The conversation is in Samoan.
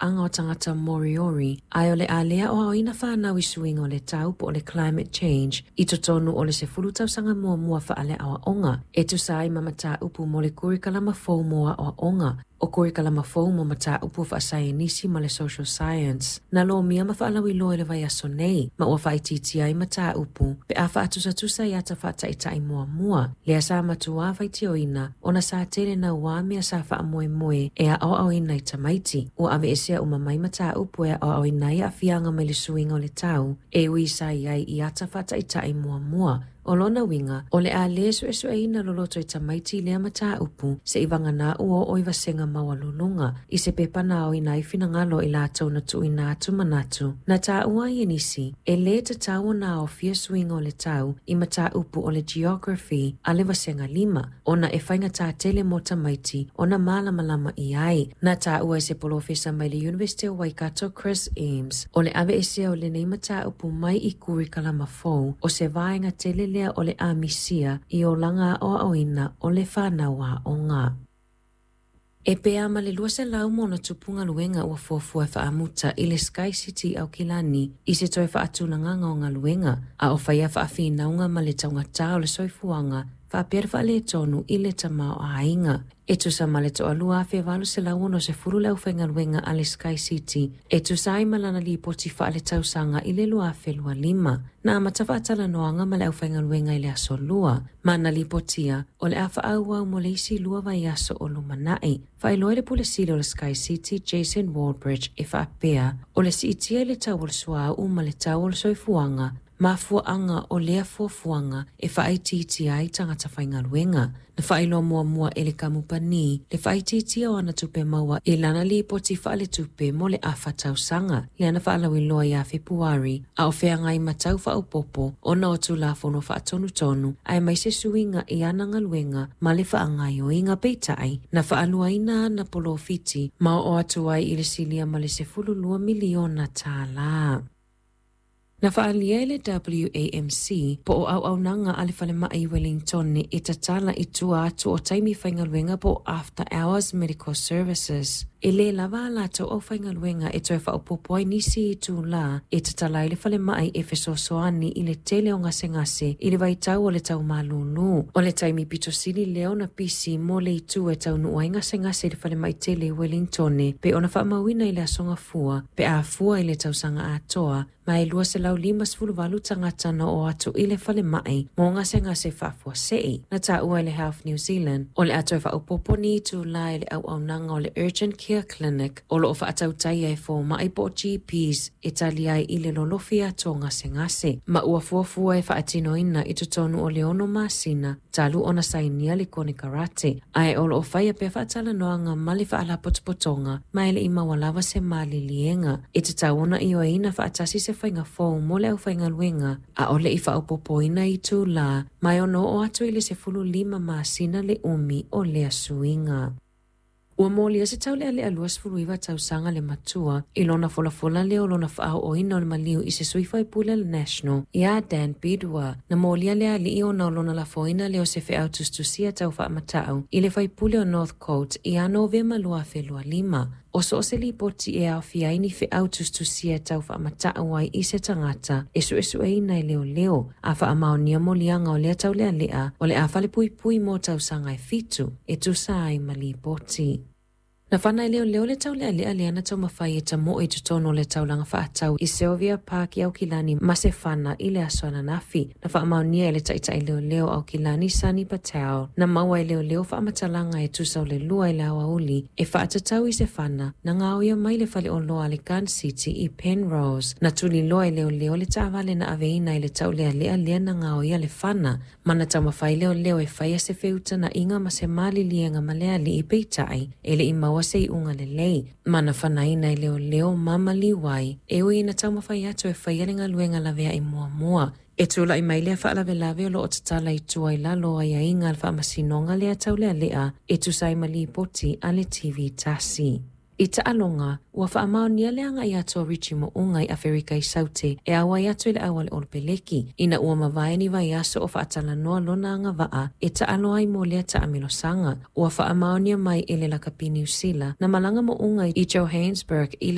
Aga o tagata Moriori, ae o le a le aoaoina fanau i suiga o le tau po o le climate change i totonu o le 10 tausaga muamua faale-aoaoga, e tusa ai ma mataupu mo le kurikalama fou mo aoaoga. O kurikalama fou mo mataupu faasaienisi ma le social science na lomia ma faalauiloa i le vaiaso nei, ma ua faaitiitia ai mataupu pe a faatusatusa i ata faataitai muamua lea sa matuā faitioina ona sa tele nauā mea sa faamoemoe e aoaoina i tamaiti. Ua aveesea uma mai mataupu e aoaoina ai aafiaga mai le suiga o le tau, e ui sa i ai i ata faataitai muamua. O lona uiga, o le a lē suesueina loloto i tamaiti lea mataupu seʻi vagana ua oo i vasega maualuluga. I se pepa na aoina ai finagalo i latou na tuuina atu manatu, na taua ai e nisi, e lē tatau ona aofia suiga o le tau i mataupu o le geography a le vasega 5, ona e faigata tele mo tamaiti ona malamalama i ai. Na taua e se polofesa mai le University o Waikato, Chris Eames, o le aveesea o lenei mataupu mai i kurikalama fou, o se vaega tele lea o le amisia i olaga aoaoina o le fanau aoga. E pea ma le 200 ma ona tupu galuega ua fuafua e faamuta i le Sky City i Aukilani i se toe faatulagaga o galuega, a o faia faafinauga ma le taugatā o le soifuaga faapea le faaletonu i le tamaoaiga. E tusa ma le 2,860 le aufaigaluega a le Sky City, e tusa ai ma lana lipoti faaletausaga i le 2025. Na amata faatalanoaga ma le aufaigaluega i le aso Lua, ma na lipotia o le a faaauau mo le isi 2 vaiaso o lumanai. Faailoa e le Pule Sili o le Sky City, Jason Wallbridge, e faapea, o le siitia i le tau o le suauu ma le tau o le soifuaga mafuaaga o lea fuafuaga e faaitiitia ai tagata faigaluega. Na faailoa muamua e le kamupani le faaitiitia o ana tupe maua i lana lipoti faaletupe mo le afa tausaga lea na faalauiloa ia Fepuari, a o feagai ma tau faaopoopo ona o Tulafono Faatonutonu aemaise suiga i ana galuega ma le faagaoioiga. Peitai, na faaluaina ana polofiti ma oo atu ai i le silia ma le $12 miliona tālā. Na faaalia e le WAMC po o auaunaga a le falemai i Wellington e tatala i tua atu o taimi faigaluega po o after hours medical services, e lē lava a latou aufaigaluega e toe faaopoopo ai nisi itulā e tatala ai le falemai e fesoasoani i le tele o gasegase i le vaitau o le taumalūlū. O le taimi pito sili lea ona pisi mo le itu e taunuu ai gasegase i le falemai tele i Wellington, pe ona faamauina i le aso Gafua pe a fua i le tausaga atoa, ma e 258 tagata na oo atu i le falemai mo gasegase faafuasei. Na taua e le Health New Zealand o le a toe faaopoopo ni itulā i le auaunaga o le Urgent Care Clinic o loo faatautaia e fomai po o GPs e tali ai i le lolofi atu o gasegase, ma ua fuafua e faatinoina i totonu o le 6 masina talu ona sainia le konekarate, ae o loo faia pea faatalanoaga ma le faalapotopotoga, ma e leʻi maua lava se maliliega. E tatau ona ioeina faatasi se faiga fou mo le aufaigaluega, a o leʻi faaopoopoina itulā, ma e ono oo atu i le 15 masina le umi o lea suiga. Ua molia se taulealea 29 tausaga le matua i lona folafola lea o lona faaooina o le maliu i se sui faipule a le National, ia Dan Bidois. Na molia le alii ona o lona lafoina lea o se feau tusitusia tau faamatau i le faipule o Northcote ia Novema 2025. O so o se lipoti e aofia ai ni feau tusitusia tau faamatau ai i se tagata, e suesueina e leoleo. A faamaonia moliaga o lea taulealea, o le a falepuipui mo tausaga e 7, e tusa ai ma lipoti. Na fana e leoleo le taulealea lea na taumafai e tamoe i totonu o le taulaga faatau i Sylvia Park i Aukilani ma se fana i le aso ananafi. Na faamaonia e le taitai leoleo Aukilani, Sunny Patel, na maua e leoleo faamatalaga e tusa o le 2 i le aoauli e faatatau i se fana na gaoia mai le faleoloa a le Gun City i Penrose. Na tuliloa e leoleo le taavale na aveina i le taulealea lea na gaoia le fana, ma na taumafai leoleo e faia se feutanaʻiga ma se maliliega ma le alii, peitai e leʻi maua se iuga lelei, ma na fanaina e leoleo ma maliu ai, e ui ina taumafai atu e faia le galuega laveai muamua. E tulaʻi mai lea faalavelave o loo tatala i tua i lalo o aiaiga a le faamasinoga lea taulealea, e tusa ai ma lipoti a le TV tasi. I taaloga, ua faamaonia le agai atu o Richie Mo'unga i Aferika i Saute e auai atu i le auale Olopeleki, ina ua mavae ni vaiaso o faatalanoa lona agavaa e taalo ai mo lea taamilosaga. Ua faamaonia mai e le lakapi Niu Sila na malaga Mo'unga i Johannesburg i